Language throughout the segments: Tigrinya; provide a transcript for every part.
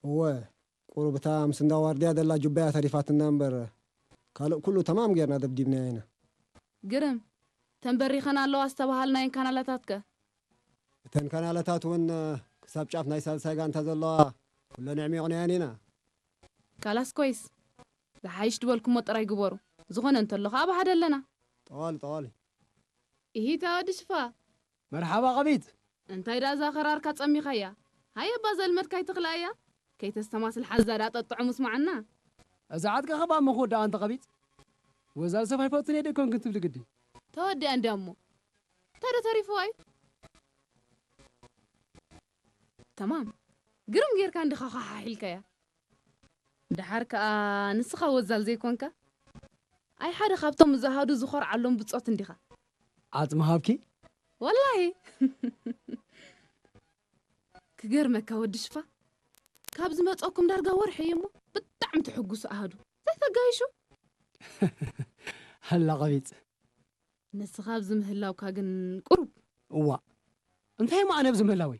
እወ፣ ቁሩብ እታ ምስ እንዳ ዋርድያ ዘላ ጁባያ ተሪፋትና እምበር፣ ካልእ ኩሉ ተማም ጌርና ደብዲብናያ ኢና። ግርም። ተንበሪኸን ኣለዋ ዝተባሃልናየን ካናላታት ከ? እተን ካናላታት እውን ክሳብ ጫፍ ናይ ሳልሳይ ጋንታ ዘለዋ ኩለን ኣዕሚቕናየን ኢና። ካላስ ኮይስ፣ ዝሓይሽ ድበልኩሞ ጥራይ ግበሩ። ዝኾነ እንተሎ ከኣ ብሓደ ኣለና። ጠዋሊ ጠዋሊ። ኢሂታ ወዲ ሽፋ። መርሓባ ቀቢት። እንታይ ደኣ እዛ ኸራርካ ጸሚኻያ? ሃየ እባ ዘልመድካ ኣይትኽልኣያ። ከይተስተማስል ሓዛ ደኣ ጠጥዑ ምስማዓና። እዛ ዓጥቃ ኸባ ምኹ ደኣ እንተ ቀቢጽ። ወዛል ሰብ ኣይፈቱን እየ ደይኮንክን ትብሊ ግዲ። ተወዲኣ እንድያ እሞ። እንታይ ዶ ተሪፍዋ እዩ? ተማም። ግርም ጌርካ እንዲኻ ኳሓሒልካያ። ደሓር ከኣ ንስኻ ወዛል ዘይኮንካ? ኣይ ሓደ ካብቶም ዝኣሃዱ ዝኾርዓሎም ብጾት እንዲኻ። ዓጽሚ ሃብኪ? ወላሂ። ክገርመካ ወዲ ሽፋ፣ ካብ ዝመጸኩም ዳርጋ ወርሒ እዩ እሞ ብጣዕሚ ትሕጉሱ ኣሃዱ። ዘይተጋይሹ። ሃላ ቀቢጽ። ንስኻ ኣብዚ ምህላውካ ግን ቁሩብ። እዋ፣ እንታይ እሞ ኣነ ኣብዚ ምህላወይ?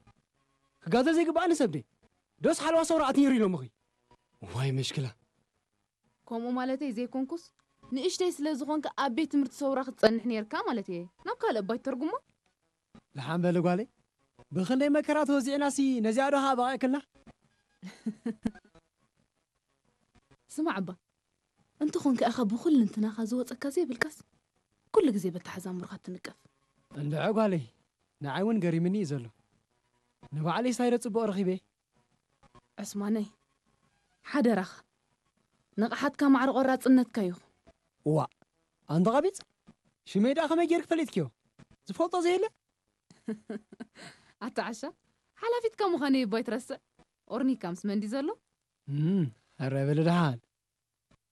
ክጋዘ ዘይግባኣኒ ሰብ ድየ? ዶስ ሓለዋ ሰውራ ኣትኒሩ ኢሎምኺ? ዋይ መሽክላ። ከምኡ ማለተይ ዘይኮንኩስ፣ ንእሽተይ ስለ ዝኾንካ ኣብ ቤት ትምህርቲ ሰውራ ክትጸንሕ ነይርካ ማለት እየ። ናብ ካልእ እባ ይተርጉሞ። ደሓን በሊ ጓለይ፣ ብኽንደይ መከራ ተወዚዕናሲ ነዚኣ ዶ ኸኣ በቒዕክልና? ስማዕ እባ፣ እንተኾንካ ኢኻ ብኹልንትናኻ ዝወጸካ ዘይብልካስ፣ ኩሉ ግዜ በተሓዛምሮኻ ትንቀፍ። እንድዒ ጓለይ፣ ንዓይ እውን ገሪምኒ እዩ ዘሎ። ንባዕለይስ እንታይ ዶ ጽቡቕ ረኺበ? ዑስማነይ፣ ሓደራኻ፣ ንቕሓትካ ማዕረ ቆራጽነትካ ይኹን። እዋእ፣ ኣንታ ቀቢጽ፣ ሽመይ ደኣ ከመይ ጌርኪ ፈሊጥክዮ? ዝፈልጦ ዘየለ? ኣታ ዓሻ፣ ሓላፊትካ ምዃነይ እባ ኣይትረስዕ። ኦርኒካ ምስ መን ድዩ ዘሎ? እም፣ ሕራይ በሊ ደሓን።